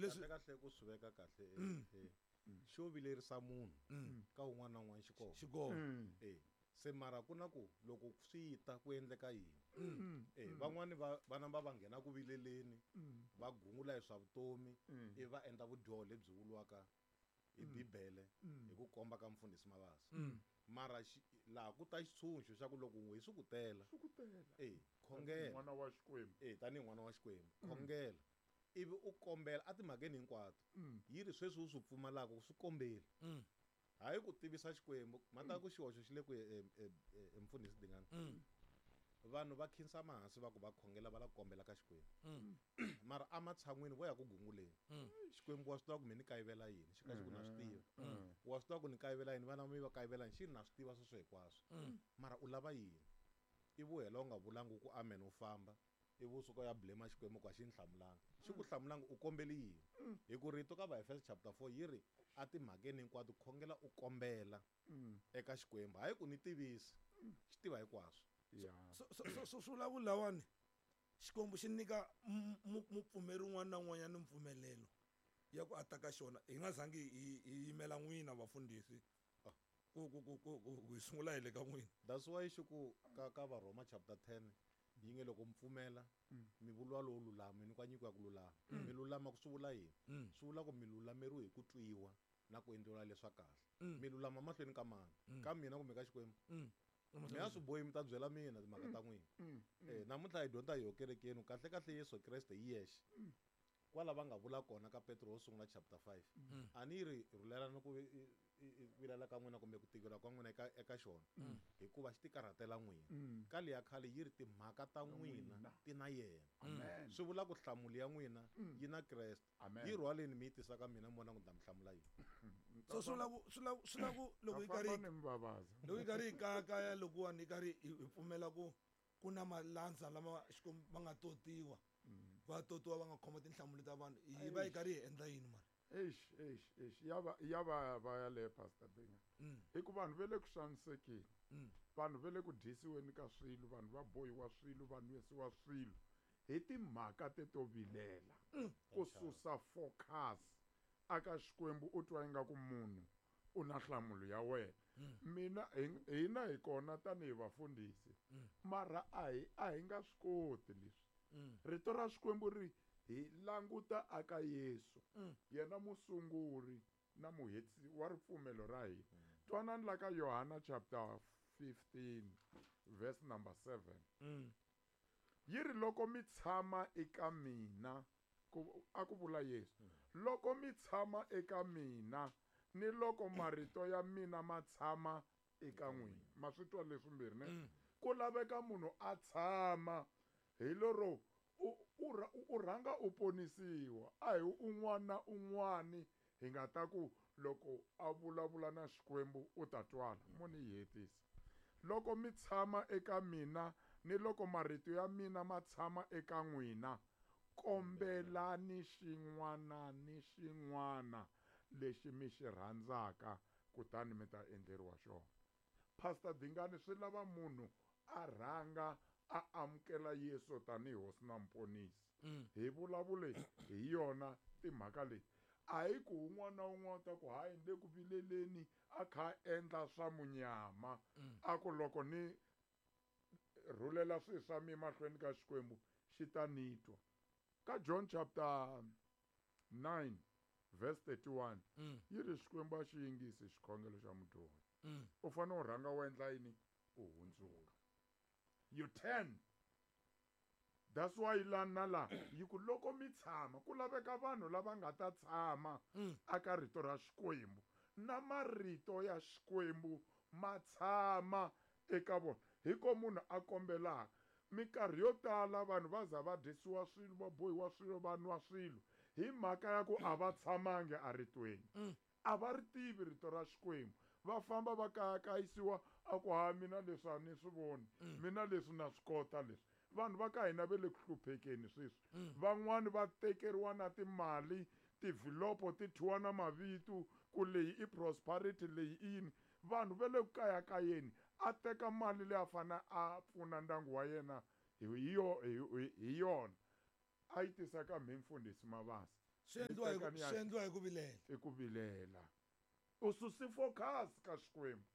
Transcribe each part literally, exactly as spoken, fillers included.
leswi kahle kahle ku swi veka kahle eh, xo vilerisa munhu ka un'wana na un'wana xi kona xi kona eh se mara ku na ku loko swi ta ku endleka yini eh van'wani va va namba va nghena ku vileleni va gungula hi swa vutomi ivi va endla vudyoho lebyi vuriwaka hi bibele hi ku komba ka mfundhisi Mabasa mara xi- laha ku ta xitshunxo xa ku loko n'we swi ku tela swi ku tela eh khongela n'wana wa Xikwembu eh tanihi n'wana wa Xikwembu khongela ivi u kombela a timhakeni hinkwato yi ri sweswi u swi pfumalaka u swi kombeli hayi ku tivisa Xikwembu mata ku xihoxo xi le ku e- e- e- e mfundhisi Dingani vanhu va khinsama hansi va ku va khongela va la ku kombela ka Xikwembu mara ematshan'wini vo ya ku gunguleni Xikwembu wa swi tiva ku mi ni kayivela yini xi ka xi ku na swi tiva wa swi tiva ku ni kayivela yini vana mi va kayivela yini xi ri na swi tiva sweswo hinkwaswo mara u lava yini ivi u hela u nga vulangi ku amen u famba ivi u suka u ya blame Xikwembu ku a xi ni hlamulanga xi ku hlamulanga u kombeli yini hi ku rito ka Vaefesa chapter four yi ri a timhakeni hinkwato khongela u kombela eka Xikwembu hayi ku ni tivisi xi tiva hinkwaswo ya so so so so swi vula ku lawani Xikwembu xi nyika mu- mu- mupfumeri un'wana na un'wanyana mpfumelelo ya ku ataka xona hi nga zangi hi hi yimela n'wina vafundhisi ku ku ku ku ku ku hi sungula hi le ka n'wina that's why xi ku ka ka Varhoma chapter ten yi nge loko mi pfumela mi vuriwa lowo lulama mi nyikiwa nyiko ya ku lulama mi lulama ku swi vula yini swi vula ku mi lulameriwe hi ku twiwa na ku endliwa leswa kahle mi lulama mahlweni ka mani ka mina kumbe ka Xikwembu mi a swi bohi mi ta byela mina timhaka ta n'wina eh namuntlha hi dyondza hi yo kerekeni kahle kahle Yesu Kreste hi yexe kwala va nga vula kona ka Petro wo sungula chapter five a ni ri rhulelani ku i- i- i- vilela ka n'wina kumbe ku tikela ka n'wina eka eka xona hikuva xi tikarhatela n'wina ka leya khale yi ri timhaka ta n'wina ti na yena amen swi vula ku nhlamulo ya n'wina yi na Kreste Amen. yi rhwaleni mi yi tisa ka mina mi vona ku ni ta mi hlamula yini so swi vula ku swi vula swi vula ku loko hi Ta karhi famba ni mbabaza loko hi karhi hi kayakaya lokuwani hi karhi hi hi pfumela ku ku na malandza lama Xikwembu va nga totiwa va totiwa va nga khoma tinhlamulo ta vanhu hi va hi karhi hi endla yini mara eish eish eish ya va ya va va yaleyo pastor Dinga hi ku vanhu ve le ku xanisekeni vanhu ve le ku dyisiweni ka swilo vanhu va bohiwa swilo va nwisiwa swilo hi timhaka teto vilela ku susa focus aka Xikwembu u twa ingaku munhu u na nhlamulo ya wena mina hi- hina hi kona tanihi vafundhisi mara a hi a hi nga swi koti leswi rito ra Xikwembu ri hi languta aka Yesu yena musunguri na muhetisi wa ripfumelo ra hina twanani la ka Yohana chapter fifteen verse number seven yi ri loko mi tshama eka mina ku a ku vula Yesu loko mi tshama eka mina ni loko marito ya mina ma tshama eka n'wina ma swi twa leswimbirhi ne ku laveka munhu a tshama hi lero u u ra- u rhanga u ponisiwa a hi un'wana na un'wani hi nga ta ku loko a vulavula na Xikwembu u ta twala mo ni yi hetisa loko mi tshama eka mina ni loko marito ya mina ma tshama eka n'wina kombelani xin'wana ni xin'wana lexi mi xi rhandzaka kutani mi ta endleriwa xona Pastor Dingani swi lava munhu a rhanga a amukela Yesu tanihi hosi na muponisi hi vulavule hi yona timhaka leti a hi ku un'wana na un'wana ta ku hayi ni le ku vileleni a kha a endla swa munyama a ku loko ni rhulela swilo swa mina mahlweni ka Xikwembu xi ta ni twa ka John chapter nine verse thirty-one yi ri Xikwembu a xi yingisi xikhongelo xa mudyohi u fanele u rhanga u endla yini u hundzuka you turn that's why la na la yi ku loko mi tshama ku laveka vanhu lava nga ta tshama aka rito ra Xikwembu na marito ya Xikwembu ma tshama eka vona hi ko munhu a kombelaka minkarhi yo tala vanhu va za va dyisiwa swilo va bohiwa swilo va nwa swilo hi mhaka ya ku a va tshamangi eritweni a va ri tivi rito ra Xikwembu va famba va kayakayisiwa a ku ha mina leswi a ni swi voni mina leswi na swi kota leswi vanhu va ka hina ve le ku hluphekeni sweswi van'wani va tekeriwa na timali tivhilopo ti thyiwa na mavito ku leyi i prosperity leyi i yini vanhu va le ku kayakayeni a teka mali leyi a fanele a pfuna ndyangu wa yena hi yo hi hi yona a yi tisa ka mhe mfundhisi Mabasa Swi endliwa hi ku swi endliwa hi ku vilela. I ku vilela. U susi focus ka Xikwembu.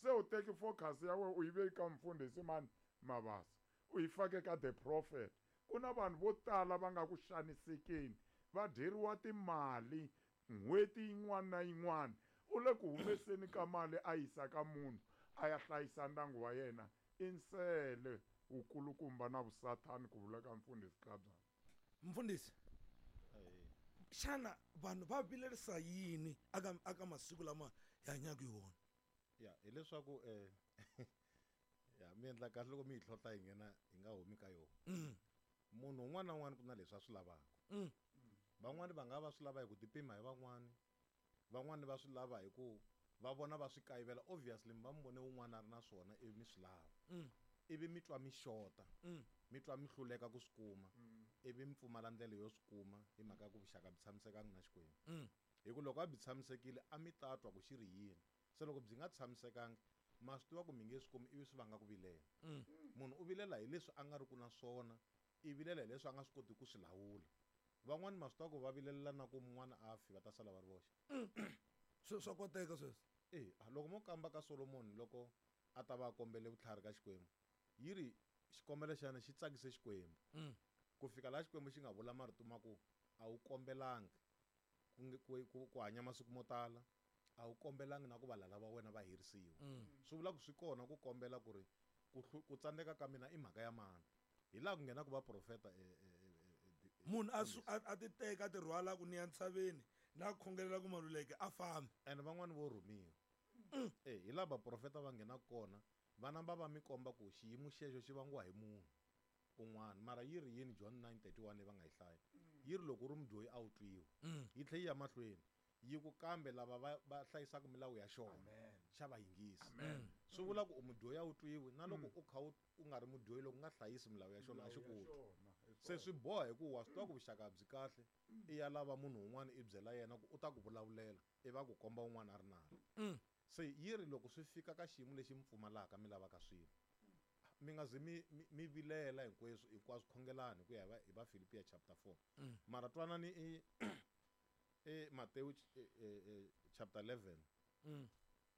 Se u teki focus ya wena u yi veki ka mfundhisi mani Mabasa. U yi fake ka the prophet. Ku na vanhu vo tala va nga ku xanisekeni, va dyeriwa timali n'hweti yin'wana na yin'wana. U le ku humeseni ka mali a yisa ka munhu a ya hlayisa ndyangu wa yena. I nsele wukulukumba na vusathani ku vula ka mfundhisi Tlabya. Mfundhisi, xana vanhu va vilerisa yini aka aka masiku lama hi hanyaka hi wona? Ya hileswaku eh ya mi endla kahle loko mi yi tlhontlha hi nghena hi nga humi ka yona. Munhu un'wana na un'wana ku na leswi a swi lavaka. Van'wani va nga va swi lava hi ku tipima hi van'wani, van'wani va swi lava hi ku va vona va swi kayivela. Obviously mi va mi vone un'wana a ri na swona ivi mi swi lava, ivi mi twa mi xota, mi twa mi hluleka ku swi kuma, ivi mi pfumala ndlela yo swi kuma hi mhaka ya ku vuxaka byi tshamisekanga na Xikwembu. Hi ku loko a byi tshamisekile a mi ta twa ku xi ri yini. Se loko byi nga tshamisekanga ma swi tiva ku mi nge swi kumi ivi swi vanga ku vilela. Munhu u vilela hi leswi a nga ri ku na swona, i vilela hi leswi a nga swi koti ku swi lawula. Van'wani ma swi tiva ku va vilelela na ku mun'wana a fi va ta sala va ri voxe. Swi swa koteka sweswo. E loko mo kamba ka Solomon loko a ta va a kombele vutlhari ka Xikwembu, yi ri xikombelo xa yena xi tsakise Xikwembu. Ku fika laha Xikwembu xi nga vula marito ma ku a wu kombelangi ku ku ku hanya masiku mo tala, a wu kombelangi na ku valala va wena va herisiwa. Swi vula ku swi kona ku kombela ku ri ku ku tsandzeka ka mina i mhaka ya mani. Hi laha ku nghenaka vaprofeta munhu a a ti teka a ti rhwala ku ni ya ntshaveni na khongelela ku Maluleke a fambi. Ene van'wani vo rhumiwa. E hi laha vaprofeta va nghenaka kona, va namba va mi komba ku xiyimo xexo xi vangiwa hi munhu un'wana. Mara yi ri yini John nine thirty-one leyi va nga yi hlaya? Yi ri loko u ri mudyohi a wu twiwi. Yi tlhela yi ya mahlweni yi ku kambe lava va va hlayisaka milawu ya xona xa va yingisa. Swi vula ku u mudyohi a wu twiwi, na loko u kha u nga ri mudyohi loko u nga hlayisi milawu ya xona a xi ku twi. Se swi boha hi ku wa swi tiva ku vuxaka byi kahle, i ya lava munhu un'wana i byela yena ku u ta ku vulavulela, i va ku komba un'wana a ri nala. Se yi ri loko swi fika ka xiyimo lexi mi pfumalaka mi lavaka swilo, mi nga zi mi mi vilela hinkweswo hinkwaswo, khongelani hi ku ya hi va Filipiya chapter four. Mara twanani i e Matewu chapter eleven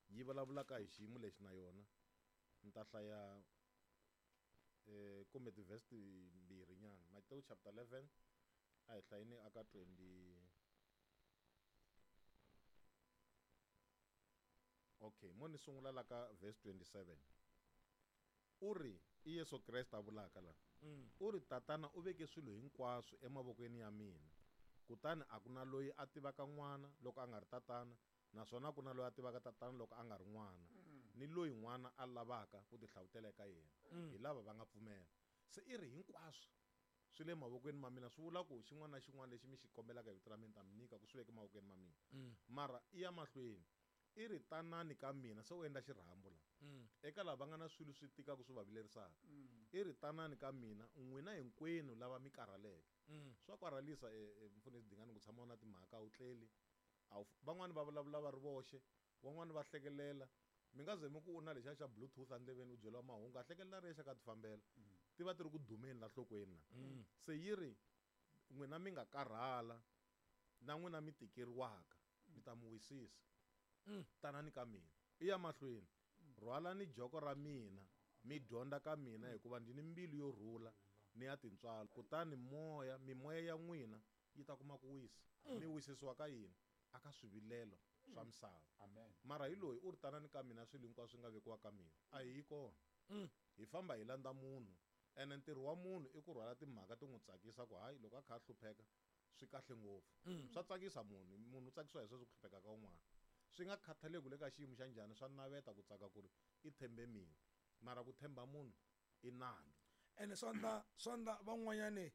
yi vulavulaka hi xiyimo lexi na yona. Ni ta hlaya eh kumbe ti-verse timbirhi nyana. Matewu chapter eleven a hi hlayeni aka twenty. Okay, mo ni sungula la ka verse twenty-seven. U ri i Yesu Kreste a vulaka la. U ri tatana u veke swilo hinkwaswo emavokweni ya mina, kutani a ku na loyi a tivaka n'wana loko a nga ri tatana, naswona ku na loyi a tivaka tatana loko a nga ri n'wana, ni loyi n'wana a lavaka ku tihlavutela eka yena. Hi lava va nga pfumela. Se i ri hinkwaswo swi le mavokweni ma mina, swi vula ku xin'wana na xin'wana lexi mi xi kombelaka hi vito ra mina ta mi nyika ku swi veke mavokweni ma mina. Mara i ya mahlweni i ri tanani ka mina, se u endla xirhambo la eka lava va nga na swilo swi tikaka swi va vilerisaka. I ri tanani ka mina n'wina hinkwenu lava mi karhaleke. Swa karhalisa mfundhisi Dingani ku tshama u na timhaka a wu tleli. Van'wani va vulavula va ri voxe, van'wani va hlekelela. Mi nga ze mi ku u na lexiya xa bluetooth endleveni u byeriwa mahungu, a hlekelela ri yexe ka ti fambela. Ti va ti ri ku dumeni la nhlokweni la. Se yi ri n'wina mi nga karhala na n'wina mi tikeriwaka, mi ta mi wisisa. Tanani ka mina. I ya mahlweni, rhwalani joko ra mina mi dyondza ka mina, hikuva ndzi ni mbilu yo rhula ni ya tintswalo, kutani moya mimoya ya n'wina yi ta kuma ku wisa. Mi wisisiwa ka yini? Aka swivilelo swa misava. Mara hi loyi u ri tanani ka mina swilo hinkwaswo swi nga vekiwa ka mina, a hi yi kona. Hi famba hi landza munhu. Ene ntirho wa munhu i ku rhwala timhaka ti n'wi tsakisa ku hayi loko a kha a hlupheka swi kahle ngopfu. Swa tsakisa munhu, munhu u tsakisiwa hi sweswo ku hlupheka ka un'wana. Swi nga khathaleki le ka xiyimo xa njhani, swa naveta ku tsaka ku ri i tshembe mina. Mara ku tshemba munhu i nandzu. Ene swa ndla swa ndla van'wanyani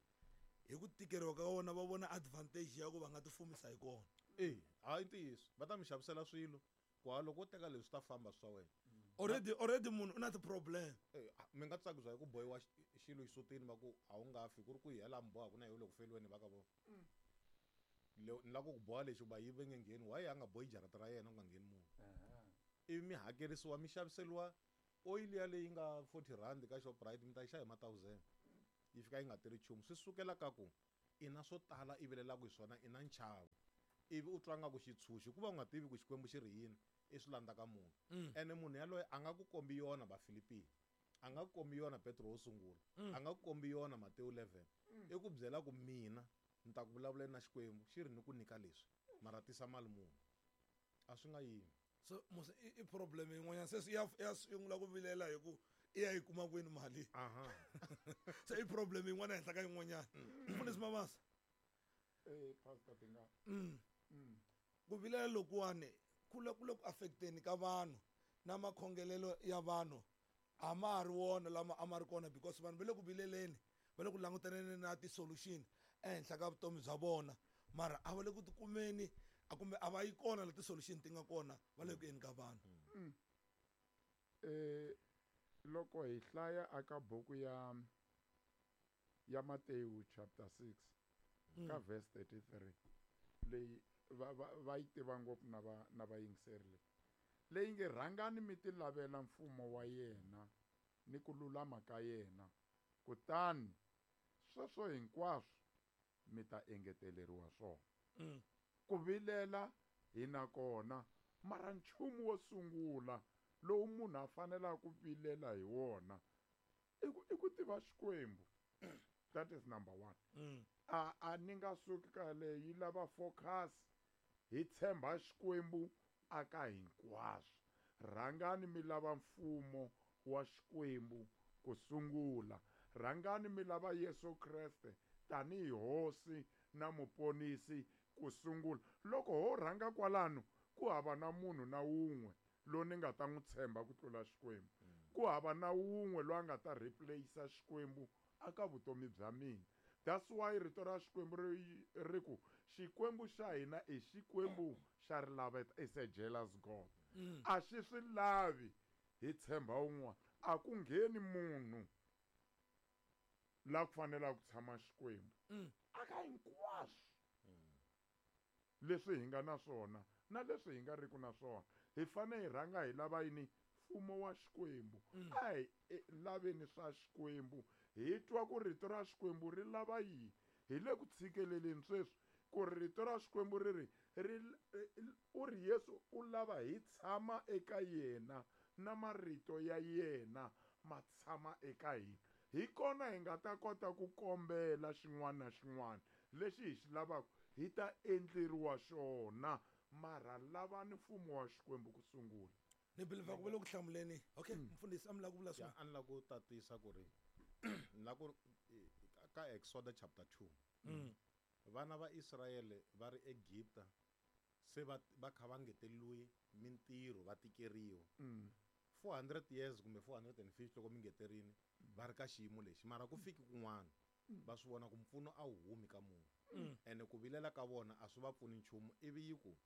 hi ku tikeriwa ka vona va vona advantage ya ku va nga tifumisa hi kona. E hayi ntiyiso, va ta mi xavisela swilo ku ha loko wo teka leswi ta famba swa wena. Already already munhu u na ti-problem. E mi nga tsakisiwa hi ku bohiwa xilo xisutini va ku a wu nga fi, ku ri ku hi hela mi boha ku na hi le ku feliweni va ka vona. Ni lava ku ku boha lexi va yi va nge ngheni, why a nga bohi jarata ra yena ku nga ngheni munhu? Ivi mi hakerisiwa mi xaviseriwa oyili ya leyi nga forty rand ka Shoprite, mi ta yi xava hi ma thousand. Yi fika yi nga tirhi nchumu. Swi sukela ka ku I na swo tala i vilelaka hi swona, i na nchavo. Ivi u twa nga ku xitshunxo ku va u nga tivi ku Xikwembu xi ri yini, i swi landza ka munhu. Ene munhu yaloye a nga ku kombi yona Vafilipiya, a nga ku kombi yona Petro wo sungula, a nga ku kombi yona Matewu eleven. I ku byela ku mina ni ta ku vulavuleni na Xikwembu xi ri ni ku nyika leswi, mara tisa mali muni. A swi nga yimi. So musi i, i problem yin'wanyana se ya ya sungula ku vilela hi ku i ya yi kuma kwini mali. Aha. Se i problem yin'wana henhla ka yin'wanyana. Mfundhisi Mabasa. Eh, Pastor Dinga. Mm. Mm. Ku vilela lokuwani ku le ku le ku affecteni ka vanhu na makhongelelo ya vanhu a ma ha ri wona lama a ma ri kona, because vanhu va le ku vileleni, va le ku langutaneni na ti-solution ehenhla ka vutomi bya vona, mara a va le ku tikumeni, a kumbe a va yi kona la ti-solution ti nga kona, va le ku yeni ka vanhu. Mm. Eh, loko hi hlaya aka buku ya, ya Matewu chapter six, Mm. ka verse thirty-three, leyi va, va, va yi tiva ngopfu na va, na vayingiseri leyi. Leyi nge rhangani mi ti lavela mfumo wa yena ni ku lulama ka yena, kutani sweswo hinkwaswo mi ta engeteleriwa swona. Mm. Ku vilela hi na kona, mara nchumu wo sungula lowu munhu a fanelaka ku vilela hi wona i ku, i ku tiva Xikwembu. That is number one. Mm. A, a ni nga suki ka leyi, yi lava focus, hi tshemba Xikwembu aka hinkwaswo. Rhangani mi lava mfumo wa Xikwembu ku sungula. Rhangani mi lava Yesu Kreste tanihi Hosi na Muponisi ku sungula. Loko ho rhanga kwalano, ku hava na munhu na wun'we loyi ni nga ta n'wi tshemba ku tlula Xikwembu. Ku hava na wun'we loyi a nga ta replace Xikwembu aka vutomi bya mina. That's why rito ra Xikwembu ri, ri ku Xikwembu xa hina i Xikwembu xa rilaveta, is a jealous God. Mm. A xi swi lavi hi tshemba un'wana. A ku ngheni munhu la ku fanelaka ku tshama Xikwembu. Mm. Aka hinkwaswo leswi hi nga na swona na leswi hi nga riki na swona, hi fanele hi rhanga hi lava yini? Mfumo wa Xikwembu. Mm. A hi laveni swa Xikwembu, hi twa ku rito ra Xikwembu ri lava yini. Hi le ku tshikeleleni sweswi ku ri rito ra Xikwembu ri ri, ri, u ri Yesu u lava hi tshama eka yena na marito ya yena ma tshama eka hina. Hi kona hi nga ta kota ku kombela xin'wana na xin'wana lexi hi xi lavaka, hi ta endleriwa xona. Mara lavani mfumo wa Xikwembu ku sungula. Ni believe ku va le ku hlamuleni. Okay, Mm. mfundhisi a mi lava ku vula Ya, swin'wana? a ni lava ku tatisa ku ri, ni lava ku ri, ka Exodus chapter two. Mm. Vana va Israyele va ri Egipta, se va, va kha va ngeteriwe mintirho, va tikeriwa. Mm. four hundred years kumbe four hundred and fifty loko mi ngeterini, va ri ka xiyimo lexi, mara ku fiki kun'wana va swi vona ku mpfuno a wu humi ka munhu. Mm. Ene ku vilela ka vona a swi va pfuni nchumu. Ivi yi ku,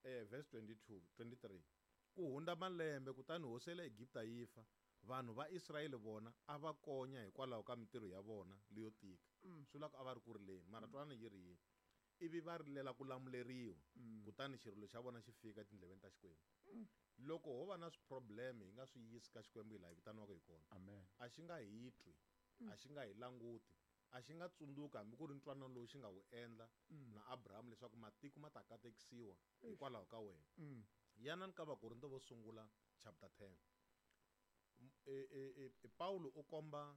eh, verse twenty-two, twenty-three, ku hundza malembe kutani hosi ya le Egipta yi fa, vanhu va Israyele vona a va konya hikwalaho ka mintirho ya vona leyo tika. Mm. Swi vula ku a va ri ku rileni, mara twanani yi ri yini. Ivi va rilela ku lamuleriwa, Mm. kutani xirilo xa vona xi fika etindleveni ta Xikwembu. Mm. Loko ho va na swi-problem hi nga swi yisi ka Xikwembu hi laha hi vitaniwaka hi kona. Amen. A xi nga hi twi, a xi nga hi languti, a xi nga tsundzuki hambi ku ri ntwanano lowu xi nga wu endla Mm. na Abraham leswaku matiko ma ta katekisiwa Eish. hikwalaho ka wena. Mm. Yanani ka Vakorinto vo sungula chapter ten. M-, e, e, e, e, Paulo u komba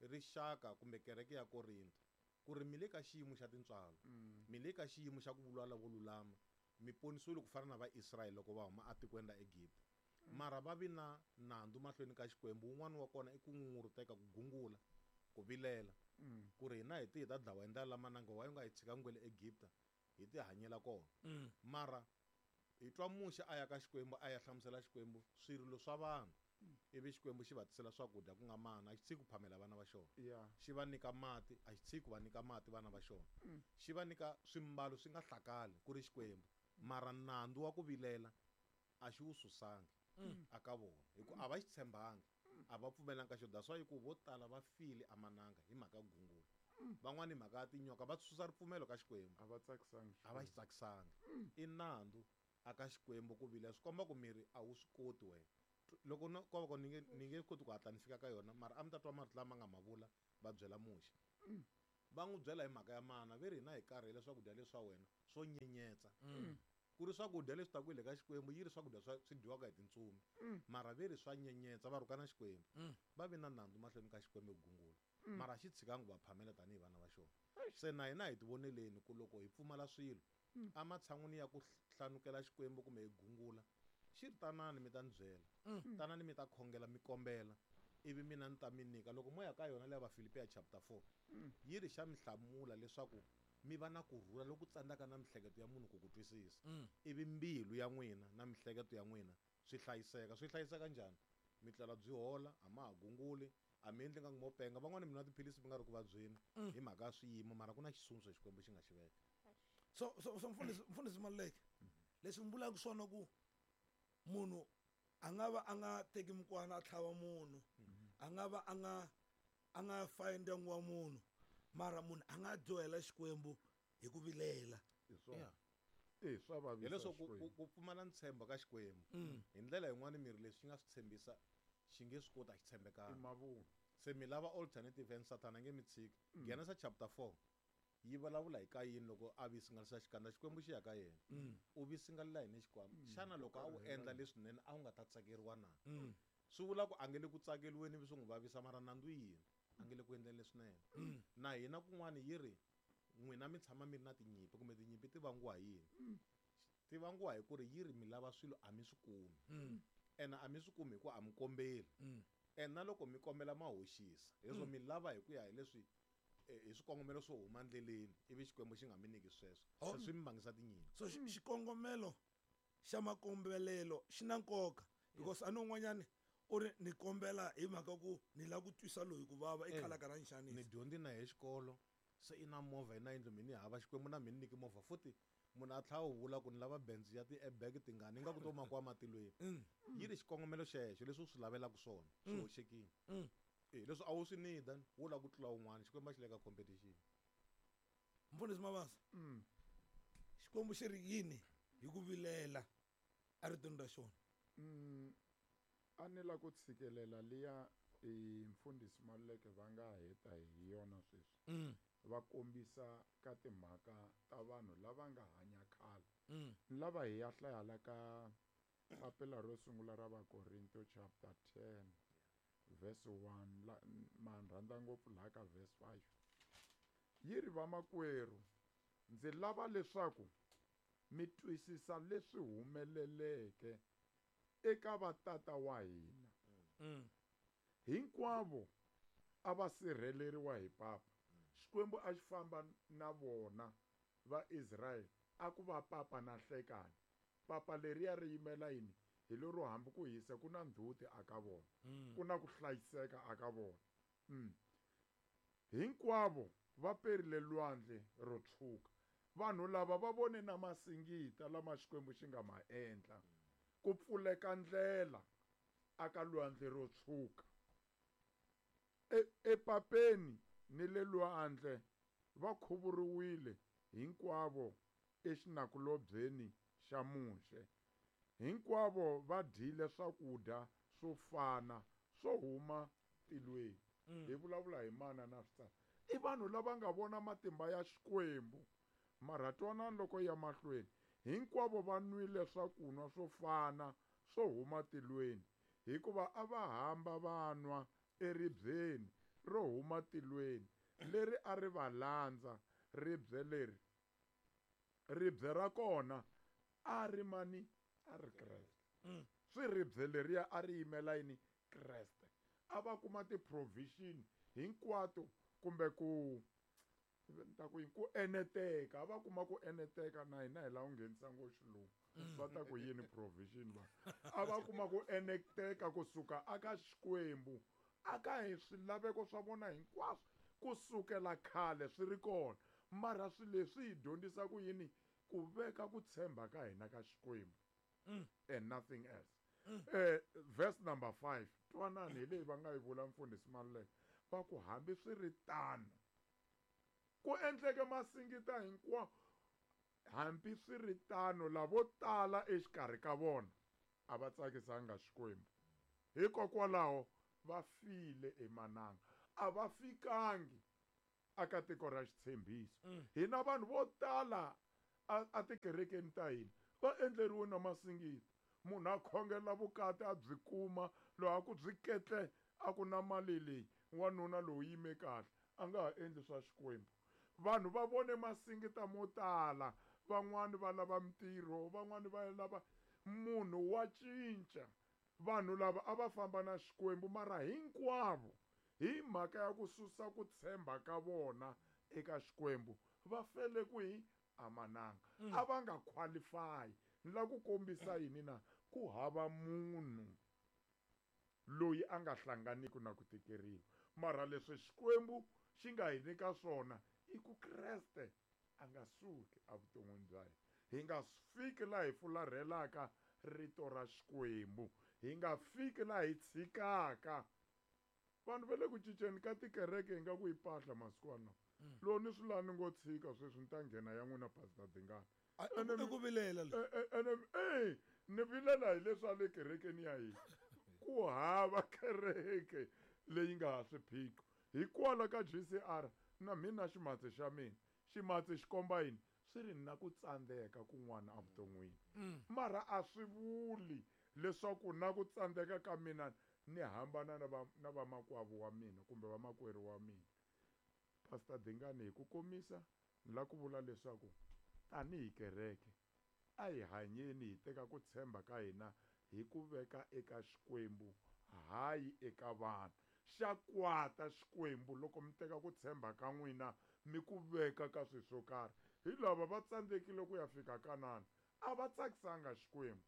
rixaka kumbe kereke ya Korinto ku ri mi le ka xiyimo xa tintswalo, Mm. mi le ka xiyimo xa ku vulavula vo lulama, mi ponisiwile ku fana na Vaisrayele loko va huma etikweni ra Egipta. Mm. Mara va vi na nandzu mahlweni ka Xikwembu. Wun'wana wa kona i ku ngunguruteka, ku gungula, ku vilela. Mm. Ku ri hina hi ti hi ta dlawa hi ndlela lamananga, wa yi nga hi tshika ngwele Egipta, hi ti hanyela kona. Mm. Mara hi twa Muxe a ya ka Xikwembu, a ya hlamusela Xikwembu swirilo swa vanhu. Mm. Ivi Xikwembu xi va tisela swakudya ku nga mana, a xi tshiki ku phamela vana va xona. Yeah. Xi va nyika mati, a xi tshiki ku va nyika mati vana va xona. Mm. Xi va nyika swimbalo swi nga hlakali ku ri Xikwembu. Mara nandzu wa ku vilela a xi wu susangi Mm. aka vona, hi ku a va xi tshembangi, a va pfumelanga ka xona. That's why ku vo tala va file emananga hi mhaka ya ku gungula. Mm. Van'wani hi mhaka ya tinyoka va susa ripfumelo ka Xikwembu. A va tsakisangi A va xi Xikwembu. tsakisangi. Mm. I nandzu aka Xikwembu ku vilela, swi komba ku miri a wu swi koti wena. Loko no, ko va ku ni nge, ni nge koti ku hatla ni fika ka yona, mara a mi ta twa marito lama nga ma vula va byela Muxe. Mm. Va n'wi byela hi mhaka ya mana ve ri hina hi karhele swakudya leswa wena swo nyenyetsa. Ku ri swakudya leswi taku hi le ka Xikwembu yi ri swakudya swa swi dyiwaka hi tintsumi. Mara ve ri swa nyenyetsa va rhukana Xikwembu. Va vi na nandzu mahlweni ka Xikwembu ku gungula. Mara xi tshikangi ku va phamela tanihi vana va xona. Se na hina hi ti voneleni ku loko hi pfumala swilo ematshan'wini ya ku hlanukela Xikwembu kumbe hi gungula xi ri tanani mi ta ni byela. Tanani mi ta khongela mi kombela ivi mina ni ta mi nyika. Loko mo ya ka yona leya Vafilipiya chapter four yi ri xa mi hlamula leswaku mi va na kurhula loku tsandzaka na mihleketo ya munhu ku ku twisisa. Ivi mbilu ya n'wina na mihleketo ya n'wina swi hlayiseka. Swi hlayiseka njhani? Mi tlela byi hola, a ma ha gunguli, a mi endli nga mo penga. Van'wani mi nwa tiphilisi mi nga ri ku vabyeni hi mhaka ya swiyimo, mara ku na xitshunxo Xikwembu xi nga xi veka. So so so mfundhisi mfundhisi Maluleke, leswi mi vulaka swona ku munhu a nga va a nga teki mukwana a tlhava munhu, a nga va a nga a nga fayi ndyangu wa munhu, mara munhu a nga dyohela Xikwembu hi ku vilela. Hi swona. Eh, swa vavisa Hileswaku ku, Xikwembu. ku pfumala ntshembo ka Xikwembu. Hi ndlela yin'wani miri leswi xi nga swi tshembisa xi nge swi koti a xi tshembekanga. I mavunwa. Se mi lava alternative and Satan a nge mi tshiki. Genesa chapter four yi vulavula hi Kayini loko a visingalisa xikandza Xikwembu xi ya ka yena. U visingalela yini Xikwembu? Xana loko a wu endla leswinene a wu nga ta tsakeriwa na? Swi vula ku a nge le ku tsakeriweni ivi swi n'wi vavisa, mara nandzu yini? A nge le ku endleni leswinene. Na hina kun'wani yi ri n'wina mi tshama mi ri na tinyimpi kumbe tinyimpi ti vangiwa hi yini? Ti vangiwa hi ku ri yi ri mi lava swilo a mi swi kumi. Ene a mi swi kumi hikuva a mi kombeli. Ene na loko mi kombela ma hoxisa. Leswo mi lava hi ku ya hi leswi hi swikongomelo swo huma ndleleni ivi Xikwembu xi nga mi nyiki sweswo. Se swi mi vangisa tinyimpi. So xikongomelo xa makombelelo xi na nkoka because a ni un'wanyani u ri ni kombela hi mhaka ku ni lava ku twisa loyi ku vava i khalaka ra nxaniso. Ni dyondzi na hi xikolo se i na movha i na yindlu mina ni hava Xikwembu na mina nyiki movha futhi munhu a tlhela u vula ku ni lava Benz ya ti-airbag tingani ingaku to makiwa matilweni. Yi ri xikongomelo xexo leswi u swi lavelaka swona swi hoxekile. Eh, leswi a wu swi need wo lava ku tlula un'wana Xikwembu a xi le ka competition. Mfundhisi Mabasa, Xikwembu xi ri yini hi ku vilela eritweni ra xona? A ni la ku tshikelela liya i mfundhisi Maluleke va nga heta hi yona sweswi. Va kombisa ka timhaka ta vanhu lava nga hanya khale. Ni lava hi ya hlaya la ka papila ro sungula ra Vakorinto chapter ten verse one la ma rhandza ngopfu laha ka verse five. Yi ri vamakwerhu ndzi lava leswaku mi twisisa leswi humeleleke eka vatata wa hina. Hinkwavo a va sirheleriwa hi papa. Xikwembu a xi famba na vona va Israel a ku va papa na hlekani. Papa leriya ri yimela yini? Hi lero hambi ku hisa ku na ndzhuti aka vona. Ku na ku hlayiseka aka vona. Hinkwavo va perile lwandle ro tshwuka. Vanhu lava va vone na masingita lama Xikwembu xi nga ma endla. Ku pfuleka ndlela aka lwandle ro tshwuka. E, epapeni ni le lwandle va khuvuriwile hinkwavo exinakulobyeni xa Muxe. Hinkwavo va dyile swakudya swo fana swo huma tilweni. Hi vulavula hi mana na switsana. I vanhu lava nga vona matimba ya Xikwembu. Mara twanani loko ya mahlweni. Hinkwavo va nwile swakunwa swo fana swo huma tilweni, hikuva a va hamba va nwa eribyeni ro huma tilweni leri a ri va landza. Ribye leri, ribye ra kona a ri mani? A ri Kreste. Swi ribye leriya a ri yimela yini? Kreste. A va kuma ti-provision hinkwato kumbe ku ta ku yini? Ku eneteka. A va kuma ku eneteka na hina hi lava ku nghenisa ngo xilungu. Va ta ku yini provision va? A va kuma ku eneteka kusuka aka Xikwembu, aka hi swilaveko swa vona hinkwaswo kusukela khale swi ri kona. Mara swilo leswi hi dyondzisa ku yini? Ku veka ku tshemba ka hina ka Xikwembu and nothing else. Eh, verse number five. Twanani hi leyi va nga yi vula mfundhisi Maluleke. Va ku hambi swi ri tano, ku endleke masingita hinkwawo, hambi swi ri tano lavo tala exikarhi ka vona a va tsakisanga Xikwembu. Hikokwalaho va file emananga, a va fikangi aka tiko ra xitshembiso. Hina vanhu vo tala a tikerekeni ta hina va endleriwe na masingita. Munhu a khongela vukati a byi kuma, loko a ku byi ketle a ku na mali leyi, wanuna lowu yime kahle, a nga ha endli swa Xikwembu. Vanhu va vone masingita mo tala, van'wani va lava mintirho, van'wani va lava munhu wa cinca. Vanhu lava a va famba na Xikwembu mara hinkwavo hi mhaka ya ku susa ku tshemba ka vona eka Xikwembu va fele kwihi? Amananga. A va nga qualify. Ni lava ku kombisa yini na? Ku hava munhu loyi a nga hlanganiki na ku tikeriwa. Mara leswi Xikwembu xi nga hi nyika swona i ku Kreste a nga suki evuton'wini bya hina. Hi nga fiki laha hi fularhelaka rito ra Xikwembu. Hi nga fiki laha hi tshikaka. Vanhu va le ku cinceni ka tikereke hi nga ku yi pahla masiku lawa. Loko ni swi laha ni ngo tshika sweswi ni ta nghena ya n'wina Pastor Dingani. I ku vilela le. Ene eh ni vilela hi leswi a le kerekeni ya hina. Ku hava kereke leyi nga ha swiphiqo. Hikwalaho ka G C R na mina ximatsi xa mina. Ximatsi xi komba yini? Swi ri na ku tsandzeka kun'wana evuton'wini. Mara a swi vuli leswaku na ku tsandzeka ka mina ni hambana na va na vamakwavo wa mina kumbe vamakwerhu wa mina. Pastor Dingani, hi ku komisa ni lava ku vula leswaku tanihi kereke a hi hanyeni hi teka ku tshemba ka hina hi ku veka eka Xikwembu, hayi eka vanhu. Xa kwata Xikwembu loko mi teka ku tshemba ka n'wina mi ku veka ka swilo swo karhi. Hi lava va tsandzekile ku ya fika Kanana, a va tsakisanga Xikwembu.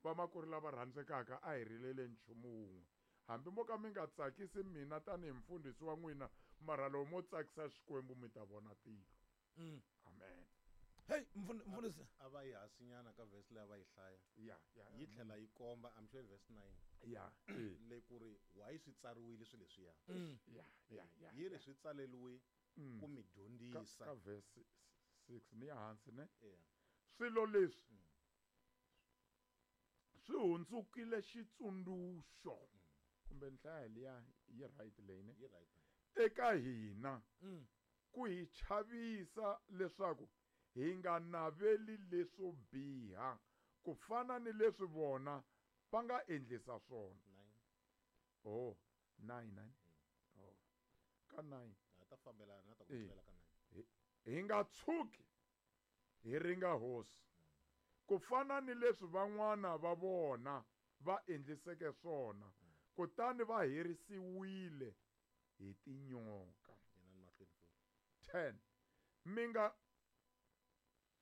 Vamakwerhu lava rhandzekaka, a hi rilele nchumu wun'we. Hambi mo ka mi nga tsakisi mina tanihi mfundhisi wa n'wina, mara loko mo tsakisa Xikwembu mi ta vona tilo. Amen. Hey, mfundhisi. A va yi hasinyana ka verse leyi a va yi hlaya. Ya, ya. Yi tlhela yi komba, I'm sure verse nine. Ya. Le ku ri why swi tsariwile swilo leswiya. Ya, ya, ya. Yi ri swi tsaleriwe ku mi dyondzisa. Ka verse six ni ya hansi ne? Yeah. Swilo leswi swi hundzukile xitsundzuxo. Kumbe nhlaya liya yi right leyi ne? Yi right. Eka hina ku hi chavisa leswaku hi nga naveli leswo biha ku fana ni leswi vona va nga endlisa swona. Nine. Oh, nine, nine. Oh. Ka nine. Ha ta fambelana na ta ku tlhela ka nine. Hi nga tshuki hi ringa hosi ku fana ni leswi van'wana va vona va endliseke swona, kutani va herisiwile hi tinyoka. ten. Mi nga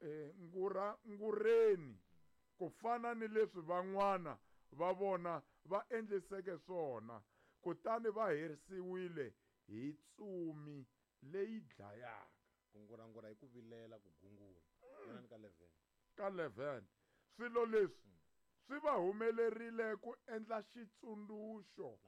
eh, ngura ngureni ku fana ni leswi van'wana va vona va endliseke swona, kutani va herisiwile hi tsumi leyi dlayaka. Ku ngurangura hi ku vilela, ku gungula. Yena ka eleven. Ka eleven. Swilo leswi swi va humelerile ku endla xitsundzuxo,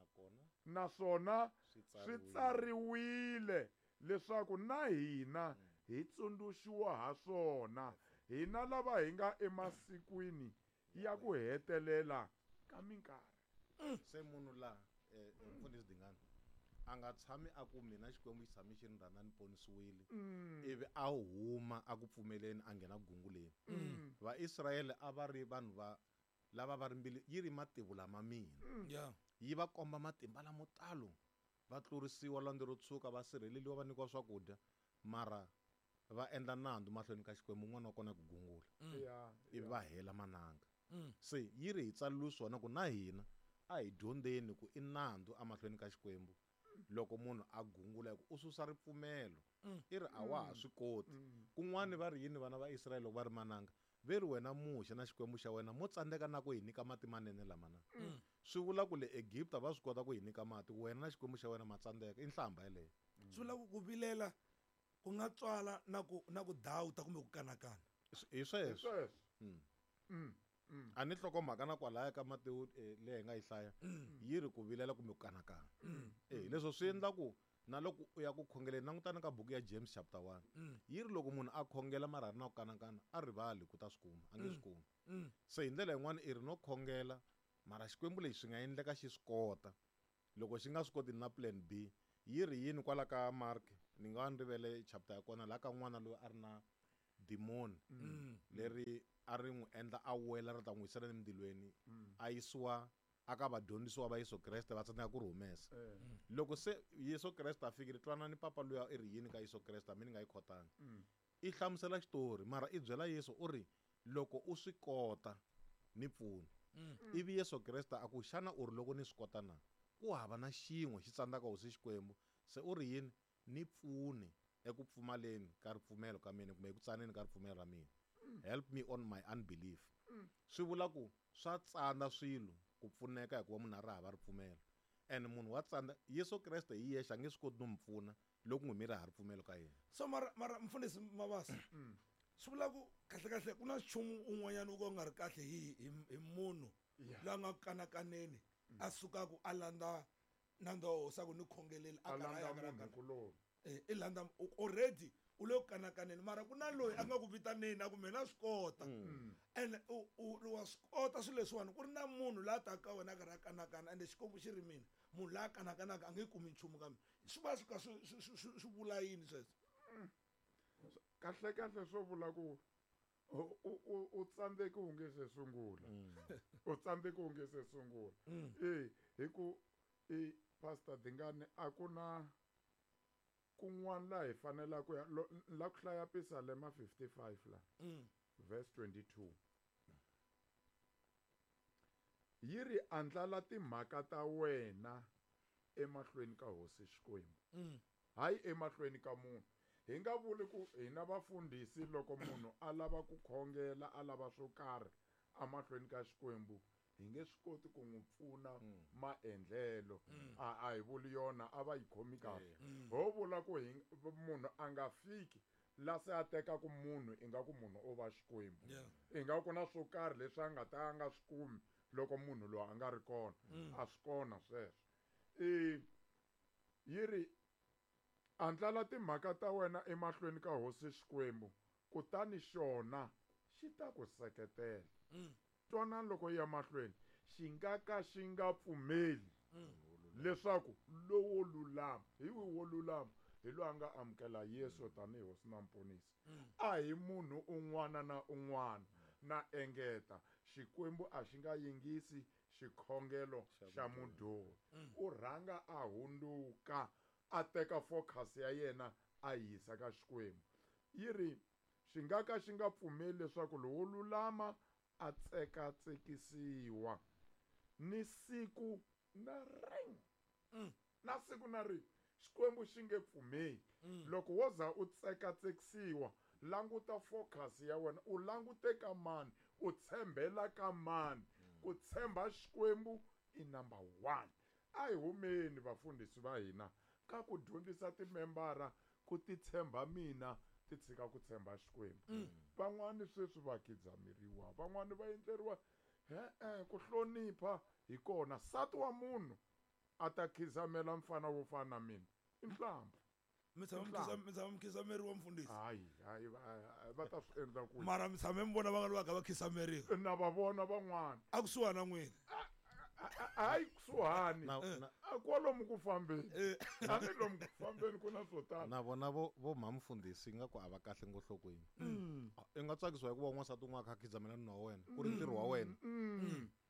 naswona swi tsariwile leswaku na hina hi tsundzuxiwa ha swona, hina lava hi nga emasikwini ya ku hetelela ka minkarhi. Se munhu la mfundhisi Dingani a nga tshami a ku mina Xikwembu xi tshame xi ni rhandza ni ponisiwile, ivi a huma a ku pfumeleni a nghena gunguleni. Vaisrayele a va ri vanhu va lava va ri mbilu yi ri mativula ma mina. Yeah. Yi va komba matimba lamo talo, va tlurisiwa lwandle ro tshuka, va sirheleliwa, va nyikiwa swakudya, mara va endla nandzu mahlweni ka Xikwembu, un'wana wa kona ku gungula. Ivi va hela mananga. Se yi ri hi tsaleliwe swona ku na hina a hi dyondzeni ku i nandzu emahlweni ka Xikwembu loko munhu a gungula, hi ku u susa ripfumelo. I ri a wa ha swi koti. Kun'wani va ri yini vana va Israyele loko va ri mananga? Ve ri wena Muxe na Xikwembu xa wena mo tsandzeka na ku hi nyika mati manene lama na. Swi vula ku le Egipta va swi kota ku hi nyika mati, wena na Xikwembu xa wena ma tsandzeka. I nhlamba yeleyo. Swi vula ku ku vilela ku nga tswala na ku na ku dawuta kumbe ku kanakana. Hi sweswo. Hi sweswo. A ni nhlokomhaka na kwalaya ka Matewu leyi hi nga yi hlaya, yi ri ku vilela kumbe ku kanakana. Eh, leswo swi endla ku na loko u ya ku khongeleni, langutana ka buku ya James chapter one. Yi ri loko munhu a khongela mara a ri na ku kanakana, a rivali ku ta swi kuma, a nge swi kumi. Se hi ndlela yin'wana i ri no khongela mara Xikwembu lexi swi nga endleka xi swi kota. Loko xi nga swi koti na plan B, yi ri yini kwala ka Mark Ni nga ni rivele chapter ya kona laha ka n'wana loyi a ri na demon leri a ri n'wi endla a wela ri ta n'wi yisela emindzilweni a yisiwa aka vadyondzisiwa va Yesu Kreste va tsandzeka ku ri humesa. Loko se Yesu Kreste a fikile twanani papa luya i ri yini ka Yesu Kreste a mi ni nga yi khotanga. I hlamusela xitori mara i byela Yesu u ri loko u swi kota ni pfuna. Ivi Yesu Kreste a ku xana u ri loko ni swi kota na? Ku hava na xin'we xi tsandzaka hosi Xikwembu. Se u ri yini? Ni pfune eku pfumaleni ka ripfumelo ka mina kumbe eku tsaneni ka ripfumelo ra mina. Help me on my unbelief. Swi vula ku swa tsandza swilo ku pfuneka hikuva munhu a ri hava ripfumelo. And munhu wa tsandza Yesu Kreste hi yexe a nge swi koti no mi pfuna loko n'wi mi ri hava ripfumelo ka yena. So mara mara mfundhisi Mabasa swi vula ku kahle kahle ku na nchumu un'wanyana wo ka wu nga ri kahle hi hi hi munhu loyi a nga kanakaneni a sukaku a landza nandza wa hosi a ku ni khongeleli a landza munhu kuloni. Eh, i landza already u le ku kanakaneni mara ku na loyi a nga ku vitaneni a ku mina swi kota. And u u wa swi kota swilo leswiwani ku ri na munhu la taka ka wena a karhi a kanakana ende Xikwembu xi ri mina munhu la kanakanaka a nge kumi nchumu ka mina. Swi va swi ka swi swi swi vula yini sweswo? Kahle kahle swo vula ku u u u tsandzeki u nge se sungula. U tsandzeki u nge se sungula. Eh hi ku i Pastor Dingane a ku na kun'wana laha hi fanelaka ku ya la ku hlaya Pisalema fifty-five la verse twenty-two. Yi ri andlala timhaka ta wena emahlweni ka hosi Xikwembu. Hayi emahlweni ka munhu. Hi nga vuli ku hina vafundhisi loko munhu a lava ku khongela a lava swo karhi emahlweni ka Xikwembu hi nge swi koti ku n'wi pfuna maendlelo. A a hi vuli yona a va yi khomi kahle. Ho vula ku hi munhu a nga fiki la se a tekaku munhu ingaku munhu o va Xikwembu. Ingaku na swo karhi leswi a nga ta a nga swi kumi loko munhu loyi a nga ri kona. A swi kona sweswo. I yi ri andlala timhaka ta wena emahlweni ka hosi Xikwembu kutani xona xi ta ku seketela. Twanani loko yi ya mahlweni xi nga ka xi nga pfumeli leswaku lowo lulama hi wihi wo lulama hi loyi a nga amukela Yesu tanihi hosi na muponisi. A hi munhu un'wana na un'wana na engeta Xikwembu a xi nga yingisi xikhongelo xa mudyohi. U rhanga a hundzuka a teka focus ya yena a yisa ka Xikwembu. Yi ri xi nga ka xi nga pfumeli leswaku lowo lulama a tsekatsekisiwa ni siku na rin'we. Na siku na rin'we Xikwembu xi nge pfumeli. Loko wo za u tsekatsekisiwa languta focus ya wena u langute ka mani u tshembela ka mani. Ku tshemba Xikwembu i number one. A hi humeni vafundhisi va hina ka ku dyondzisa timembara ku ti tshemba mina ti tshika ku tshemba Xikwembu. Van'wani sweswi va khidzameriwa van'wani va endleriwa he-e ku hlonipha hi kona. Nsati wa munhu a ta khizamela mfana wo fana na mina i nhlampfu. Mi tshama mi tshama mi khidzameriwa mfundhisi? Hayi hayi va ta swi endla kwihi? Mara mi tshame mi vona va nga lava va khidzameriwa? Na va vona van'wana. A kusuhani na n'wina? Hayi kusuhani. Kwalomu ku fambeni. A ni lomu ku fambeni ku na swo tala. Na vona vo vo mhamfundhisi ingaku a va kahle ngohlokweni. I nga tsakisiwa hikuva n'wansati un'wana a kha a khidzamela nuna wa wena ku ri ntirho wa wena.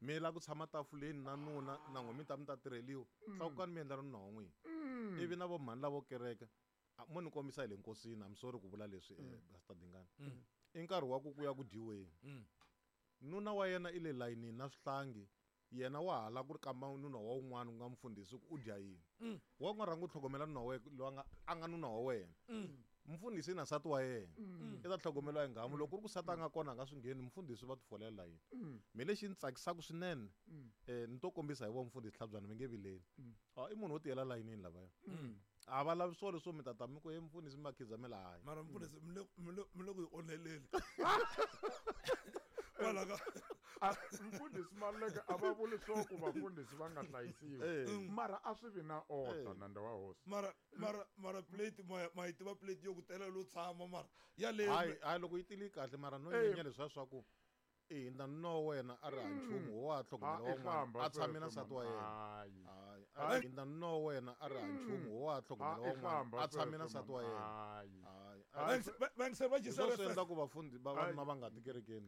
Mi lava ku tshama tafuleni na nuna na n'we mi ta mi ta tirheliwa. Tlakukani mi endla nuna wa n'wina. Ivi na vo mhani lavo kereka mo ni kombisa hi le nkosini I'm sorry ku vula leswi Pastor Dingane. I nkarhi wa ku ku ya ku dyiweni. Nuna wa yena i le layinini na swihlangi. Yena wa hala ku ri kamba nuna wa un'wana ku nga mfundhisi ku u dya yini. Wa nga rhanga u tlhogomela nuna wa wena loyi a nga a nga nuna wa wena. Mfundhisi na nsati wa yena. I ta tlhogomeliwa hi nghamu loko ku ri ku nsati a nga kona a nga swi ngheni mfundhisi va ti folela layini. Me lexi ni tsakisaka swinene eh ni to kombisa hi vo mfundhisi Tlhabyana mi nge vileli. I munhu wo tiyela layinini lavaya. A va lavi swona leswo mi ta ta mi ku he mfundhisi mi va khidzamela hayi. Mara mfundhisi mi le mi le mi le ku yi onheleni. Kwala ka mfundhisi Maluleke a va vuli swo ku vafundhisi va nga hlayisiwi mara a swi vi na order nandza wa hosi. Mara mara mara plate ma ma yi tiva plate yo ku tela lo tshama mara yaleyo hayi hayi loko yi tile kahle mara no nyenya leswiya swa ku I hindza nuna wa wena a ri ha nchumu wo ha tlhogomela Ah, i wa n'wana hlamba a tshame na sweswo, nsati wa man. yena. Hayi. Hayi. Hayi. A hindza nuna wa wena a ri ha nchumu wo ha Ah, tlhogomela i wa n'wana hlamba a tshame na sweswo, nsati wa man. yena. Hayi. Hayi. Hayi. Vayingiseri va Hi swona swi J C R F endlaku vafundi vavanuna Hayi. va nga ti kerekeni.